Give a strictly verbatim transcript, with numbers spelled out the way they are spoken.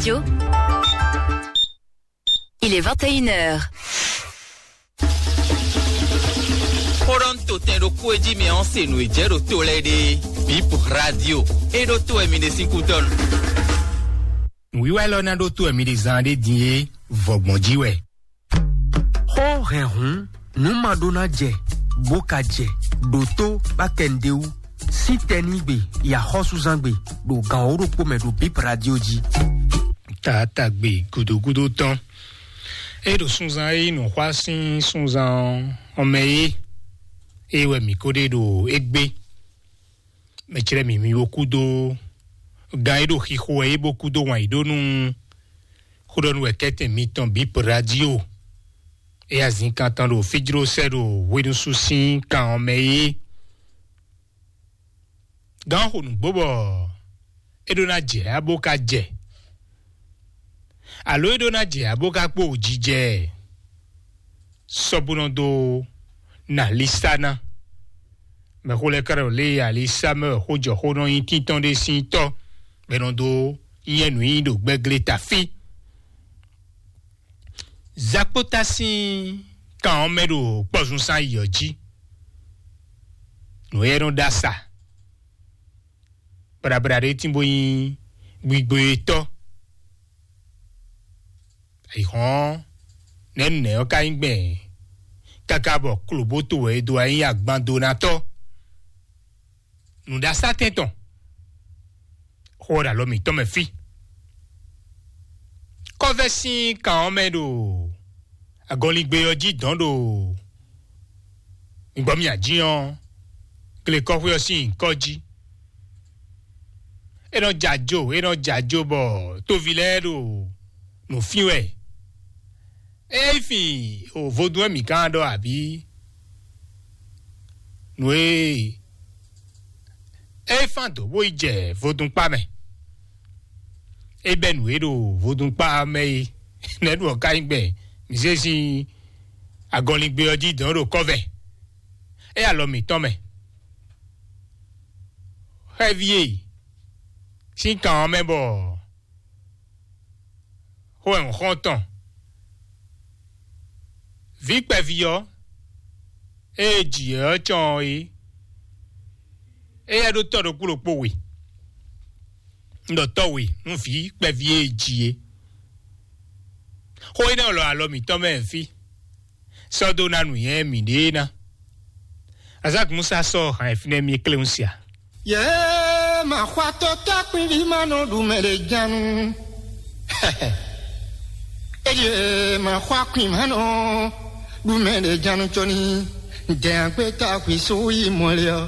Yo. Il est vingt et une heures. Xóɖɔ́ntotɛn ɖokpó e jí mɛ ɔ́ se nǔ e jɛ ɖo to lɛ́ɛ ɖe. Bip Radio. E ɖó to wɛ mi ɖe sín kútɔ́nu. Nǔwiwa élɔ́ ná ɖó to wɛ mi ɖe zan ɖé din é, vɔgbɔn jí wɛ. Xó hɛn hǔn, nǔ ma ɖó ná jɛ, bó ka jɛ, ɖo tó bá kɛ nǔɖé wú. Sín tɛnígbe, yi axɔ́súzángbe, ɖo gan wǒ ɖokpó mɛ ɖo Bip Radio jí. Taatagbe gúdógúdó tɔn. É ɖo sunzan e nyí nǔxwá sín sunzan ɔ́ mɛ é, é wɛ mǐ ko ɖe ɖo égbé. Mɛ clɛ́ mǐ mì bo kúdó gán e ɖo xixo wɛ é bó kúdó wǎn yí ɖó nú xó ɖɔ nú wɛ kɛ́tɛn mitɔn Bip Radio. É azin kan tɔn ɖo fíjló sɛ́ ɖo hwenusú sín kan ɔ́ mɛ é. Gǎn xo nǔgbó bɔ é ɖó ná jɛ abó ka jɛ, alo é ɖó ná jɛ abó ka kpó jijɛ. Sɔ́búnɔ dó na Lisana. Mɛxó lɛ́ɛ ka ɖo lé Alisa mɛ wɛ xó jɔ xó nɔ nyí tíntɔ́n ɖé sín tɔ́, bɔ é nɔ dó nyɛ nǔ nyi ɖo gbɛglé tafí. Zakpóta sín kan ɔ́ mɛ ɖo kpɔ́zúnsán yi ɔ́ jí. Nǔ e nɔ ɖó asa. Bláblá ɖé tín bó nyí gbigbo e tɔ́. Ayǐhɔ́n nɛ̌ nɛ̌ ɔ́ ka nyí gbɛn káká bɔ klobóto wɛ é dó wá nyí agbandonatɔ́? Nǔɖasátɛn tɔn xó ɔ́ ɖo alɔ mǐtɔn mɛ fí. Kɔ́vɛ́ sín kan ɔ́ mɛ ɖo agɔnlingbe ɔ́ jí dɔn ɖo migbɔ́ mì ají ɔ́, glekɔ́xwé ɔ́ sín nyǐkɔ jí. É nɔ jɛ ajo, é nɔ jɛ ajo bɔ tóvi lɛ́ɛ ɖo nǔ fín wɛ. É yí fin o vodún wɛ mǐ gán ɖɔ abǐ? Nǔ e é fán dǒ bó yi jɛ vodúnkpá mɛ. É bɛ́ nǔ e ɖo vodúnkpá mɛ é. Nɛ̌ ɖu ɔ́ ka nyí gbɛn mǐ zé sín agɔnlingbe ɔ́ jí dɔn ɖo kɔ́vɛ? É alɔ mǐtɔn mɛ. Xɛví e sín kan ɔ́ mɛ bɔ xó wɛ un xɔ́n tɔn. Vǐ kpɛví ɔ́, ée jǐ ɛ ɔ́ cɔn ɔ́ é, éyɛ́ ɖó tɔ́ ɖokpó ɖokpó we. Un ɖɔ tɔ́ we nú vǐ kpɛví e jǐ é. Xó énɛ́ lɔ alɔ mǐtɔn mɛ fí. Sɔ́ dó ná nǔnywɛ́ mǐɖée ná. Azak Musa sɔ́ hǎn e fínɛ́ mì kléwún sia. Yě ma xɔ atɔtɔ́ kpínví ma nɔ ɖu mɛ ɖě jánu. Eye ma xɔ akwin ma nɔ ɖu mɛ ɖě jánu cɔni. Dɛn agbé ta xwi só yi mɔlɛ ɔ.